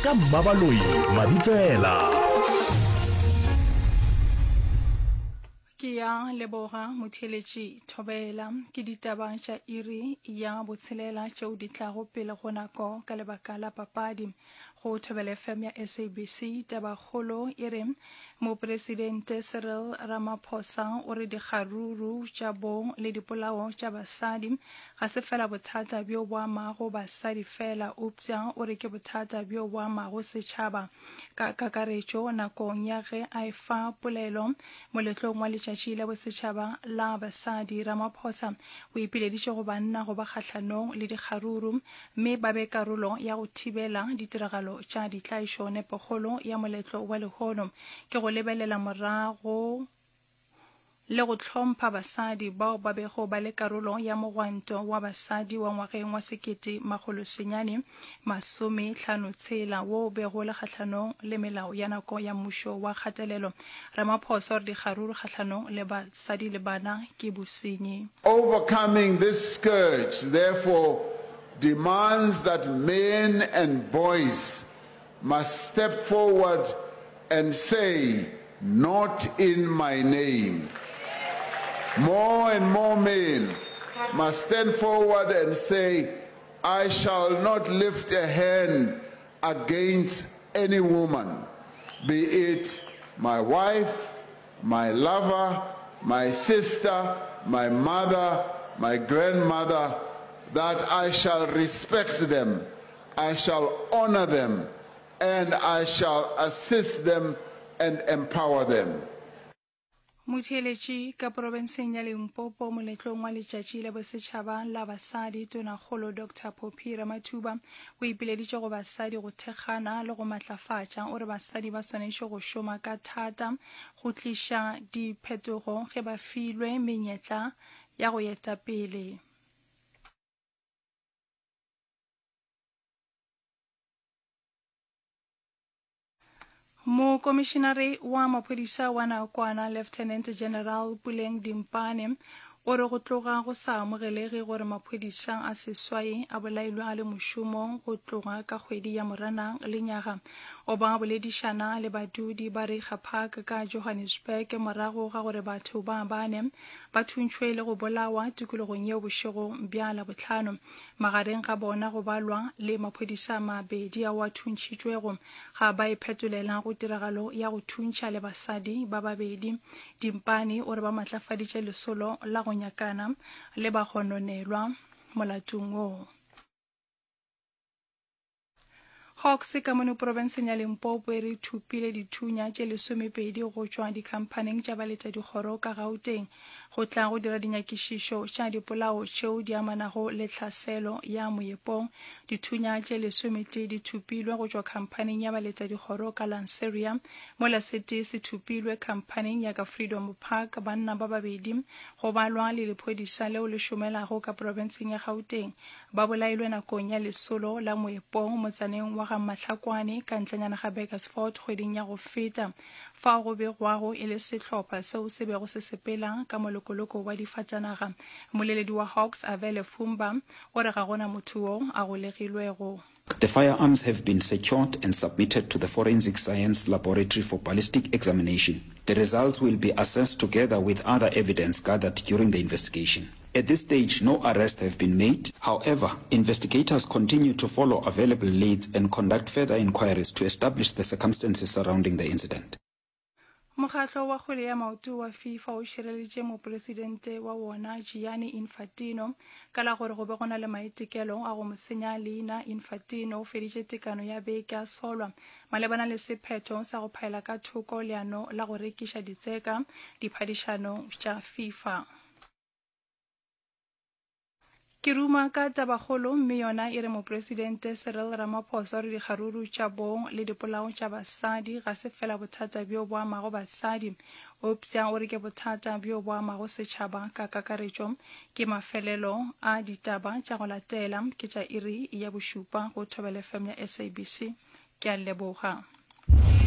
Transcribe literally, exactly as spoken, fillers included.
Ka Mmabaloi Mabitsela. Ke ya leboga motheeletši Thobela. Ke ditaba tša iri ya botshelela tšeo di tlago pele go nako ka lebaka la papadi. Go Thobela F M ya S A B C, tabakgolo e re Mopresidente Cyril Ramaphosa o re dikgaruru tša bong le dipolao tša basadi ga se fela bothata bjo bo amago basadi fela, eupša o re ke bothata bjo bo amago setšhaba ka kakaretšo. Nakong ya ge a efa polelo moletlong wa Letšatši la Bosetšhaba la Basadi, Ramaphosa o ipileditše go banna go ba kgahlanong le dikgaruru mme ba be karolo ya go thibela ditiragalo tša ditlaišo. Nepokgolo ya moletlo wa lehono ke go lebelela morago le go hlompha basadi bao ba bego ba le karolo ya mogwanto wa basadi wa ngwageng wa sekete makgolo senyane masome hlano tshela wo o bego le kgahlanong le melao ya nako ya mmušo wa kgatelelo. Ramaphosa o re dikgaruru kgahlanong le basadi le bana ke bosenyi. Overcoming this scourge therefore demands that men and boys must step forward and say, "Not in my name." More and more men must stand forward and say, "I shall not lift a hand against any woman, be it my wife, my lover, my sister, my mother, my grandmother, that I shall respect them, I shall honor them, and I shall assist them and empower them." Motheeletši ka porofenseng ya Limpopo, moletlong wa Letšatši la Bosetšhaba la Basadi, Tonakgolo Doctor Phophi Ramathuba o ipileditše go basadi go thekgana le go matlafatša. O re basadi ba swanetše go šoma ka thata go tliša diphetogo ge ba filwe menyetla ya go eta pele. Mokomišenare wa maphodisa wa nakwana Lieutenant General Puleng Dimpane o re go tloga go sa amogelege gore maphodisa a seswai a bolailwe a le mošomong go tloga ka kgwedi ya Moranang lenyaga. O ba boledišana le badudi ba Reiger Park ka Johannesburg morago ga gore batho ba bane ba thuntšhwe le go bolawa tikologong yeo bošego bja Labohlano. Magareng ga bona go balwa le maphodisa a mabedi ao a thuntšhitšwego ga ba iphetolela go tiragalo ya go thuntšha le basadi ba babedi. Dimpane o re ba matlafaditše lesolo la go nyakana le bagononelwa molatong wo. Hawks ka mono porofenseng ya Limpopo e re thopile dithunya tše lesomepedi go tšwa dikhamphaneng tša baletadikgoro ka Gauteng go tla go dira dinyakišišo tša dipolao tšeo di amanago le tlhaselo ya moepong. Dithunya tše lesometee di thopilwe go tšwa khamphaneng ya baletadikgoro ka Lanseria, mola se tee se thopilwe khamphaneng ya ka Freedom Park. Banna ba babedi, go balwa le lephodisa leo le šomelago ka porofenseng ya Gauteng, ba bolailwe nakong ya lesolo la moepong motsaneng wa ga Mahlakwane ka ntlenyana ga Burgersfort kgweding ya go feta, fao go begwago e le sehlopha seo se bego se sepela ka molokoloko wa difatanaga. Mmoleledi wa Hawks Avele Fumba o re ga go na motho yo a golegilwego. The firearms have been secured and submitted to the Forensic Science Laboratory for ballistic examination. The results will be assessed together with other evidence gathered during the investigation. At this stage, no arrests have been made. However, investigators continue to follow available leads and conduct further inquiries to establish the circumstances surrounding the incident. Mokgatlo wa kgwele ya maoto wa FIFA o šireleditše mopresidente wa wona Gianni Infantino ka la gore go be go na le maitekelo a go mo senya leina. Infantino o feditše tekano ya beke a solwa malebana le sephetho sa go phaela ka thoko leano la go rekiša ditseka diphadišanong tša FIFA. Ke ruma ka tabakgolo mme yona e re Mopresidente Cyril Ramaphosa o re dikgaruru tša bong le dipolao tša basadi ga se fela bothata bjo bo amago basadi, eupša o re ke bothata bjo bo amago setšhaba ka kakaretšo. Ke mafelelo a ditaba tša go latela ke tša iri ya bošupa go Thobela F M ya S A B C. Ke a leboga.